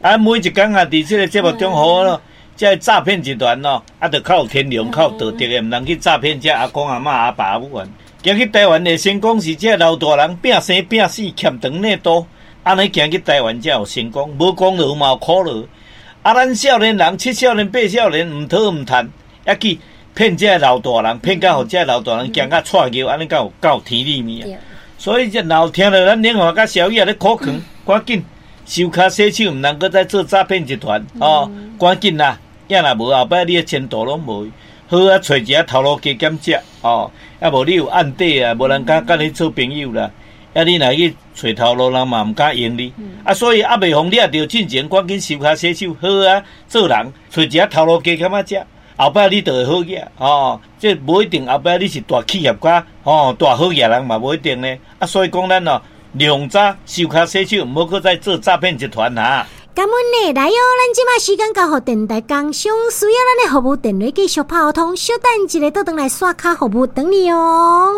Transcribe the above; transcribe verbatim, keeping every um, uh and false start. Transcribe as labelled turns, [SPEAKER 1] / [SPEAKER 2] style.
[SPEAKER 1] 啊，每一工啊，佇這个節目中好咯，這个詐騙集團咯，啊，著較有天良、較有道德的，毋通去詐騙這阿公阿嬤、阿爸阿母啊。行去台灣會成功是這老大人拚生拚死欠長領多，按呢行去台灣才有成功，無功勞嘛有苦勞。啊，咱少年人七少年八少年毋討毋趁，猶去騙這老大人，騙到予這老大人驚甲掣尿，按呢敢有敢有天理物啊？所以這若有聽著咱蓮華佮小雨咧苦勸，趕緊收跤洗手，毋通閣再做詐騙集團哦！趕緊啦，仔若無後擺你的前途攏無。好啊，揣一个頭路加減食哦，啊無你有案底啊，無人敢佮你做朋友啦。啊，你若去揣頭路，人嘛毋敢用你。啊，所以猶未予掠著進前，趕緊收跤洗手，好啊，做人揣一个頭路加減仔食。後擺你就會好額哦，這無一定後擺你是大企業家，吼，大好額人嘛無一定呢。啊，所以講咱哦，量早收跤洗手，毋好閣再做詐騙集團哈。
[SPEAKER 2] 感恩呢，來喲！咱這馬時間交予電台工商，需要咱的服務電話繼續拍予通，小等一下，倒轉來刷卡服務等你哦。